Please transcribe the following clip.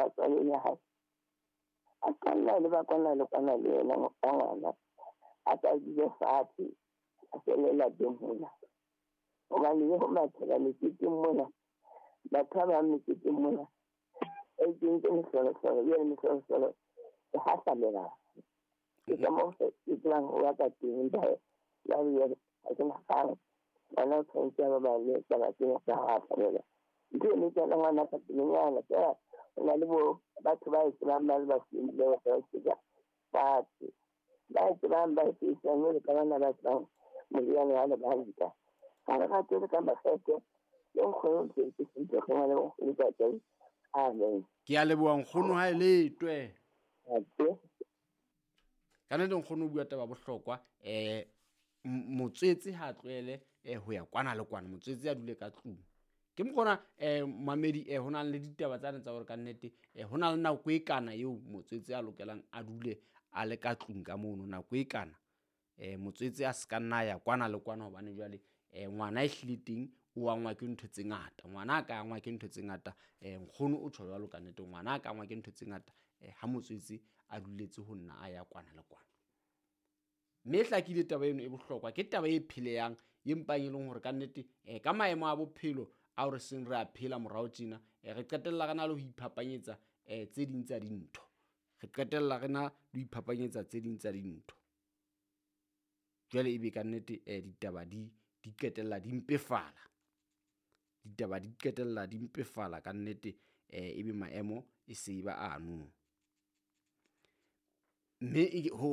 Sheba tswalo ya hae. A qalla le ba kwana le kwana le yena ka ngwana. A sa dule fatshe, a felle lapeng mona. Hobane le ho mathela meketeng mona, batho ba bang meketeng mona, ba ikentse mehlolohlolo, jwale mehlolohlolo e hahlamela. Ke ka moo ke tsebang ho ba ka teng. Jwale ha ke na kgang. Ngwana o tshwanetse a baballe taba tsena tsa ho hahlamela. Ntho eno e kena ngwana ka pelenyana feela. Ho na le bo batho ba e tsebang ba le ba ba e fatshe. Ba e tsebang ba e sebedisang jwalo ka bana ba tsebang moriana wa lebanta. Ha re rate le ka makgethe. Le nkgono ke sentle ngwana nkgono ka. Amen. Ke a leboha nkgono ha e letwe. Ka nnete nkgono o bua taba bohlokwa. Motswetse ha a tlohele ho ya kwana le kwana, motswetse a dule ka tlung. Ke mokgona mamedi ho na le ditaba tsane tsa hore ka nnete ho na le nako e kana eo motswetse a lokelang a dule a le ka tlung ka mono nako e kana. Motswetse a se ka nna ya kwana le kwana hobane jwale ngwana e hlile teng o angwa ke ntho tse ngata. Ngwana a ka angwa ke ntho tse ngata. Nkgono o tjho jwalo ka nnete, ngwana a ka angwa ke ntho tse ngata ha motswetse a duletse ho nna a ya kwana le kwana. Mme e hlakile taba eno e bohlokwa, ke taba e phelehang e mpang e leng hore ka nnete ka maemo a bophelo ao re seng re a phela morao tjena, re qetella re na le ho iphapanyetsa tse ding tsa dintho. Re qetella re na le ho iphapanyetsa tse ding tsa dintho. Jwale ebe ka nnete ditaba di qetella di mpefala. Ditaba di qetella di mpefala ka nnete, ebe maemo e se ba ano. Mme